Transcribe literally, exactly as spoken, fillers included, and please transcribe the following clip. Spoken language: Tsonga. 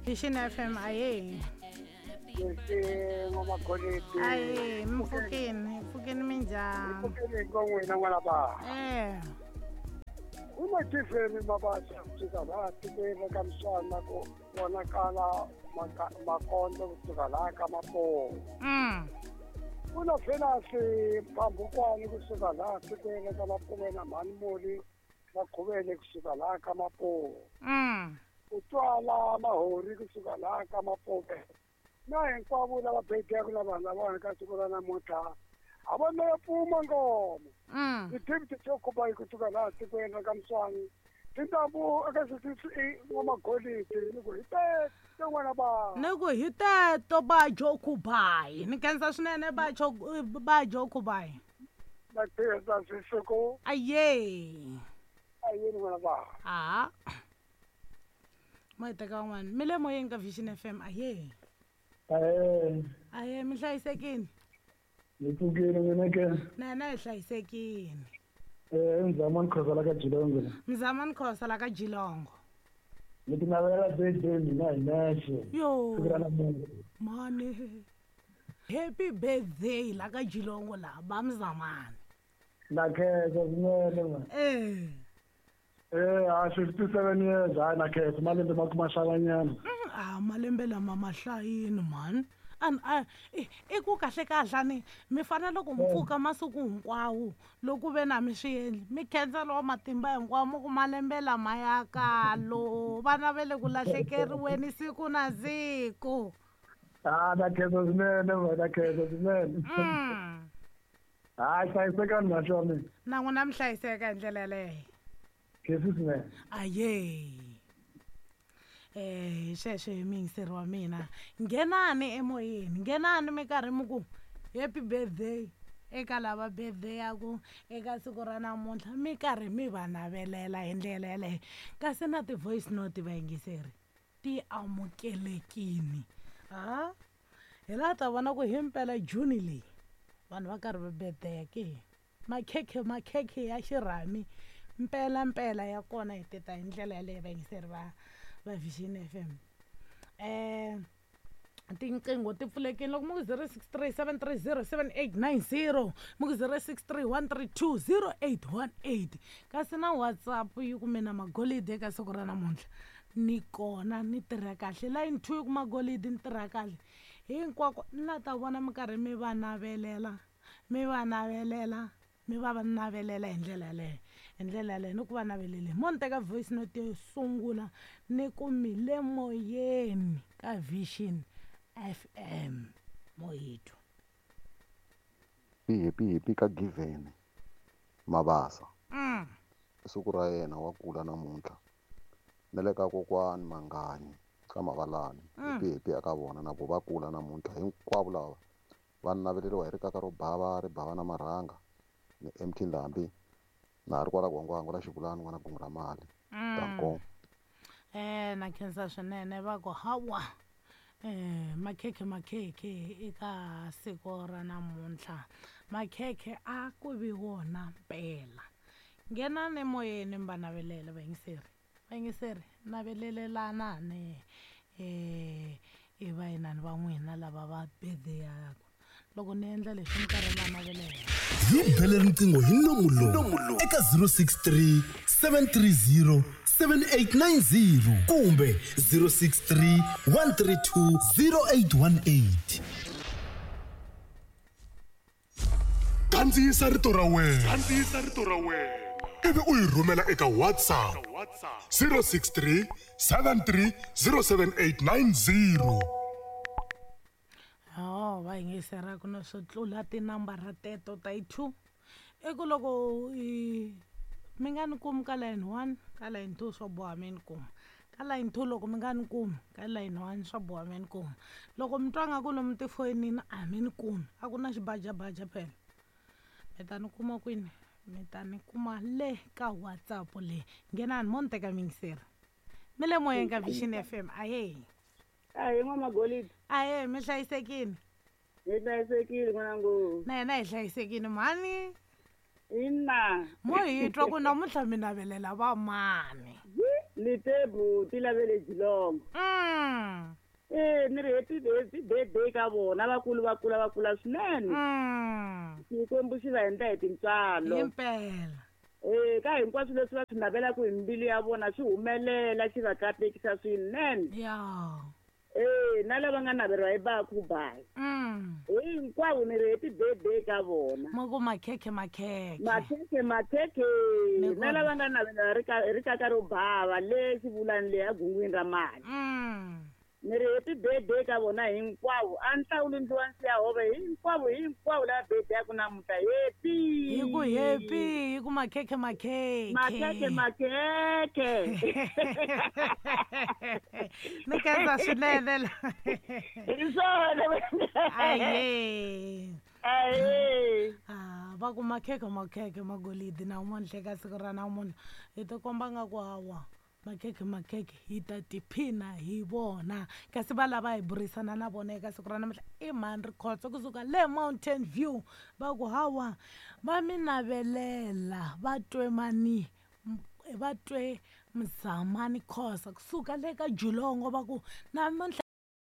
Vision F M aye. Lexi n'wamagoleti. Aye, mi pfukini, pfukini minjhani? Mi pfukini ko n'wina n'wana ba. Eh. U na tiveni mabasa kusuka laha tikweni ka misana ku vonakala makondzo kusuka laha ka Mapowo. Mm. U na Venasi Mpambukwani kusuka laha tikweni ka Mapume na Mhanimoli Makhuvele kusuka laha ka Mapowo. Mm. U twala Mahori kusuka laha ka Mapume. Na hinkwavo lava bhedaka na vanhu lava ka siku ra namuntlha a va na pfuma ngoma. Mm. Ti-deputy to kusuka laha tikweni ra ka Mswani tintambu eka sixty n'wamagoleti ni ku hi teto n'wana ba. Ni ku hi teto ba Jokubai. Ni khensa swinene ba ba Jokubai. Na khensa swisiku. Aye. Aye n'wana ba. Ah. Ma hi teka van'wana. Mi le moyeni ka Vision F M aye. Aye. Aye mi hlayisekini. Ni pfukile mina ke. Na na hi hlayisekini. Eh Mzamani Khosa la ka Jilongo. Mzamani Khosa la ka Jilongo. Ni ti navelela birthday mina hi nexe. Yo. Siku ra namuntlha. Mani. Happy birthday la ka Jilongo la ba Mzamani. Na khensa swinene ma. Eh. Eh a fifty-seven years hayi na khensa malembe ma kuma xavanyana. Ah malembe lama ma hlayini man. An a i ku kahle kahle ni mi fanele ku mpfuka masiku hinkwawo loko ve na mi swi endli mi khensa lowa matimba hinkwawo mi ku malembe lama ya kalo vana va le ku lahlekeriweni siku na siku. Ah na khensa swinene ma na khensa swinene. Hayi hlayisekani na swona. Na n'wina mi hlayiseka hi ndlela yaleyo. Khensa swinene. Aye. Eh sweswo hi muyingiseri wa mina nghenani emoyeni nghenani mi karhi mi ku happy birthday eka lava birthday yaku eka siku ra namuntlha mi karhi mi va navelela hi ndlela yaleyo kasi na ti-voice note vayingiseri ti amukelekini ha hi laha ta vona ku himpela June leyi vanhu va karhi va birthday ke makhekhe makhekhe ya xirhami mpela mpela ya kona hi tita hi ndlela yaleyo vayingiseri va va Vision F M. Eh tinqingho ti pfulekile loko mi ku zero six three seven three zero seven eight nine zero mi ku zero six three one three two zero eight one eight kasi na WhatsApp yi kume na magolidi eka siku ra namuntlha ni kona ni tirha kahle line two yi kuma golidi ni tirha kahle hinkwako ni la ta vona mi karhi mi va navelela mi va navelela mi va va navelela hi ndlela yaleyo hi ndlela yaleyo ni ku va navelele mo ni teka voice note yo sungula ni ku mi le moyeni ka Vision F M moyithu. Happy happy ka Given Mabasa. Mm. Siku ra yena wa kula namuntlha na le ka kokwani Mangani ka Mavalani. Happy happy aka vona na vo va kula namuntlha hinkwavo lava va naveleriwa hi rikaka ro bava ri bava na marhanga ni M T Ndhambi na ri kwala Gwangwango la Xivulani n'wana kungu ra mali. Mm. Eh na khensa swinene va ku hawa eh makhekhe makhekhe eka siku ra namuntlha makhekhe a ku vi wona mpela nghenani emoyeni mi va navelela vayingiseri vayingiseri navelelelanani eh i vainani va n'wina lava va birthday yaku loko ni endla leswi mi karhi va navelela. Hi bele riqingho hi nomu lowu eka zero six three seven three zero seven eight nine zero kumbe zero six three one three two zero eight one eight. Kandziyisa rito ra wena. Kandziyisa rito ra wena. Ivi u yi rhumela eka WhatsApp zero six three seven three zero seven eight nine zero. Oh, va yingisera ku na swo tlula tinambara teto ta yi two i ku loko i mi nga ni kumi ka line one ka line two swo boha mi ni kuma ka line two loko mi nga ni kumi ka line one swo boha mi ni kuma loko mi twa nga ku lomu tifonini a mi ni kumi a ku na xibajabaja phela mi ta ni kuma kwini mi ta ni kuma le ka WhatsApp le nghenani mo ni teka miyingiseri mi le moyeni ka Vision F M aye. Aye n'wamagolidi. Aye mi hlayisekini. Hi hlayisekile n'wanangu. Na hina hi hlayisekile mhani. Ina. Mo hi twa ku namuntlha mi navelela va mani. Ni te buti lavele Jilongo. Mm. Eh ni ri happy happy birthday ka vona vakulu va kula va kula swinene. Mm. Xikwembu xi va endla hi tintswalo. Himpela. Eh ka hinkwaswo leswi va swi navelaka hi mbilu ya vona swi humelela xi va katekisa swinene. Ya. Eh na lava nga naveriwa hi Bakhubayi. Mm. Hinkwavo ni ri happy birthday ka vona. Ma ku makhekhe makhekhe. Makhekhe makhekhe Ni na kona. lava nga navela ri ka ri kaka ro bava le xivulani le egungwini ra mali. Mm. Ni ri happy birthday ka vona hinkwavo a ni hlawuli ndliwa nsiya hove hinkwavo hinkwavo lava birthday yaku namuntlha happy. Hi ku happy, hi ku makhekhe makhekhe. Makhekhe makhekhe. Ni khensa swinene la. Hi swona. Aye. Aye. Ah, va ku makhekhe makhekhe magolidi namuntlha eka siku ra namuntlha hi tikomba nga ku hawa makhekhe makhekhe hi ta tiphina hi vona kasi va lava hi burisana na vona eka siku ra namuntlha i mhani Rikhotso kusuka le Mountain View va ku hawa va mi navelela va twe mani va twe Mzamani Khosa kusuka le ka Jilongo va ku namuntlha.